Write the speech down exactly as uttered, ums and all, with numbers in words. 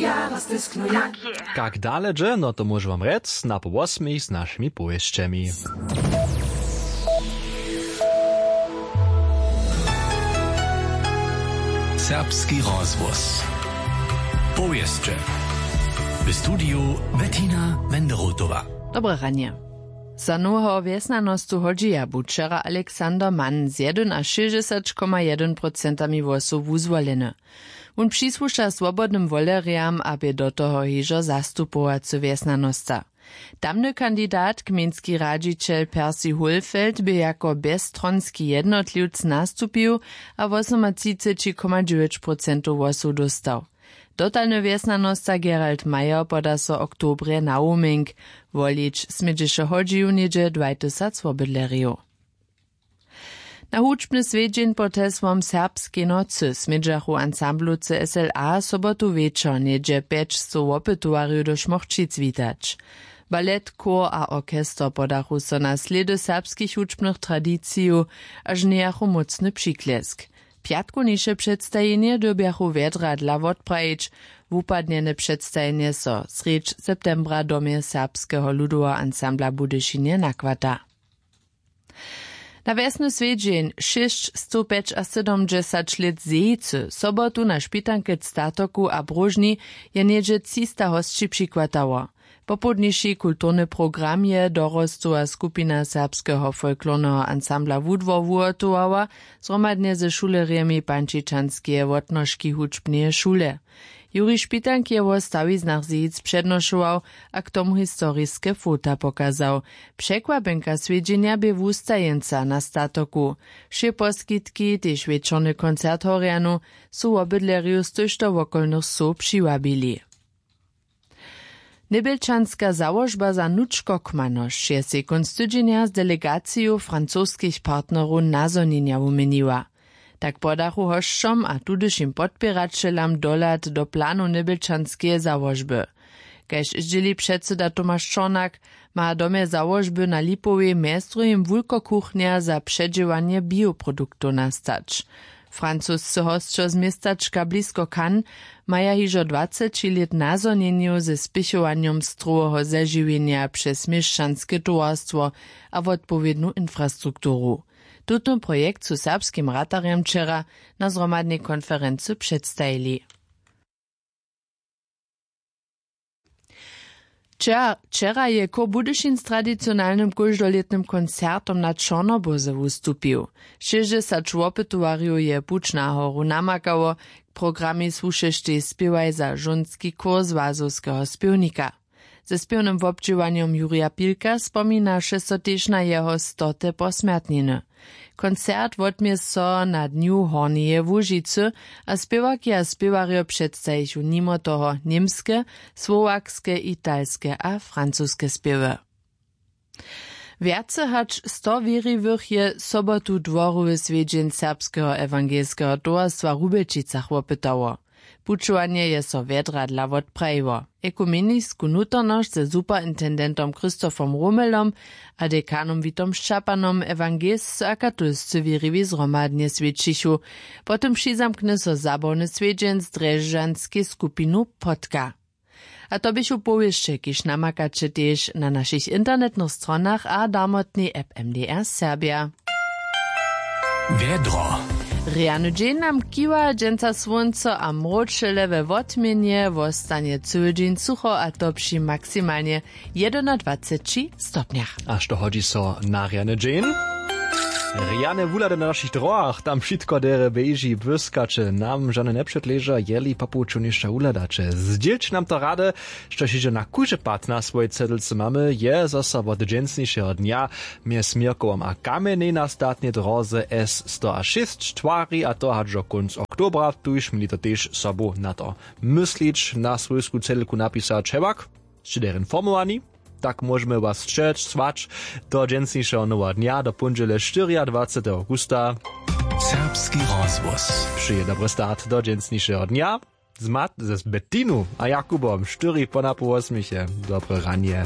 Ja, was ist nur ja? Kak dale dźe, no to móžu wam rjec na po wosmich z našimi powěsćemi. Serbski rozhłos. Powěsće. W studiju Bettina Wenderotowa. Dobre ranje. Za noweho wjesnjanostu hodźija bu wčera Alexander Mann z jedynašěsćdźesat koma jedyn procentami hłosow wuzwoleny. Wón přisłuša swobodnym wolerjam a bě do toho hižo zastupowacy wjesnjanosta. Tamny kandidat, gmejnski radźićel Percy Hohlfeld, bě jako bjezstronski jednotliwc nastupił a wosomatřiceći koma dźewjeć procentow hłosow dóstał. Dotalny wjesnjanosta Gerald Meyer poda so w oktobrje na Woming. Wolić smědźeše hodźiju něhdźe dwaj tysac wobydlerjow. Na hudźbny swjedźeń pod hesłom Serbskej nocy smědźachu ansamblowcy S L A sobotu wječor něhdźe pjećstow wopytowarjow do Šmochćic witać. Balet, chór a orchester podachu so na slědy serbskich hudźbnych tradicijow a žnějachu mócny přiklěsk. Pjatkowniše předstajenje dyrbjachu wjedra dla wotprajić. Wupadnjene předstajenje so srjedź septembra w domje Serbskeho ludoweho ansambla w Budyšinje nachwata. Na wjesny swjedźeń šěsćstowpjećasydomdźesat lět Zejicy sobotu na špitanke w Statoku a Bróžni je něhdźe třista hosći přichwatało. Popołdniši kulturny program je dorostowa skupina Serbskeho folklorneho ansambla Wudwor wuhotowała zhromadnje ze šulerjemi Pančičanskeje wotnožki hudźbneje šule. Juri Špitank je wo stawiznach Zejic přednošował a k tomu historiske fota pokazał. Překwapjenka swjedźenja bě wustajeńca na Statoku. Wšě poskitki, tež wječorny koncert w Horjanu, su wobydlerjow z tójšto wokolnych wsow přiwabili. Njebjelčanska załožba za nučkokmanosć je sej kónc tydźenja z delegaciju francoskich partnerow nazhonjenja wuměniła. Tak podachu hosćom a tudyšim podpěraćelam dohlad do planow njebjelčanskeje załožby. Kaž zdźěli předsyda Tomaš Čornak, ma w domje załožby na Lipowej mjez druhim wulkokuchnja za předźěłanje bioproduktow nastać. Francusce hosćo z městačka blisko Cannes maja hižo dwaceći lět nazhonjenjow ze spěchowanjom stroweho zežiwjenja přez měšćanske towarstwo a wotpowědnu infrastrukturu. Tutón projekt su serbskim ratarjam wčera na zhromadnej konferency předstajili. Wčera, wčera je chór Budyšin z tradicionalnym kóždolětnym koncertom na Čornobórze wustupił. Šěsćdźesat wopytowarjow je puć na horu namakało. K programej słušeštej spěwaj za žónski chór Złazowskeho spěwnika. Ze spěwnym wobdźěłanjom Jurja Pilka spominaše so tež na jeho stote posmjertniny. Koncert wotmě so na Dnju Hornjeje Łužicy a spěwarki a spěwarjo předstajichu nimo toho němske, słowakske, italske a francuske spěwy. Wjace hač sto wěriwych je sobotu dworowy swjedźeń Serbskeho ewangelskeho towarstwa w Rubjelčicach wopytało. Pućowanje je so wjedra dla wotprajiło. Ekumenisku nutornosć ze superintendentom Christophom Romelom a dekanom Witom Šćapanom ewangelscy a katolscy wěriwi zhromadnje swjećichu. Potom přizamkny so zabawny swjedźeń z drježdźanskej skupinu Potka. A to běchu powěsće, kiž namakaće tež na našich internetnych stronach a damotnej app M D R Serbia. Wjedro. Rjany dźeń nam kiwa, dźensa słónco a mróčele we wotměnje, wostanje cyły dźeń sucho a to při maksimalnje jedynadwaceći stopnjach. A što hodźi so na rjany dźeń? Rjane wuhlady na našich dróhach, tam wšitko derje běži, błyskaće, nam žane njepředleža, jeli po połdźu něšto wuhladaće. Zdźělće nam to rady, štož hižo na kóždy pad na swojej cedlce mamy, je zo so wot dźensnišeho dnja mjez Měrkowom a Kamjenjej na statnej dróze S sto a šěsć twari, a to hač do kónc oktobra. Tuž měli to tež sobu na to myslić, na swójsku cedlku napisać. Hewak, sće derje informowani, tak móžemy was sćeć, słać do dźensnišeho noweho dnja, do póndźele štyriadwaceteho awgusta. Serbski rozhłos. Přeje dobry start do dźensnišeho dnja z Mat-, z Bettinu a Jakubom, štyri po napoł wosmich je. Dobre ranje.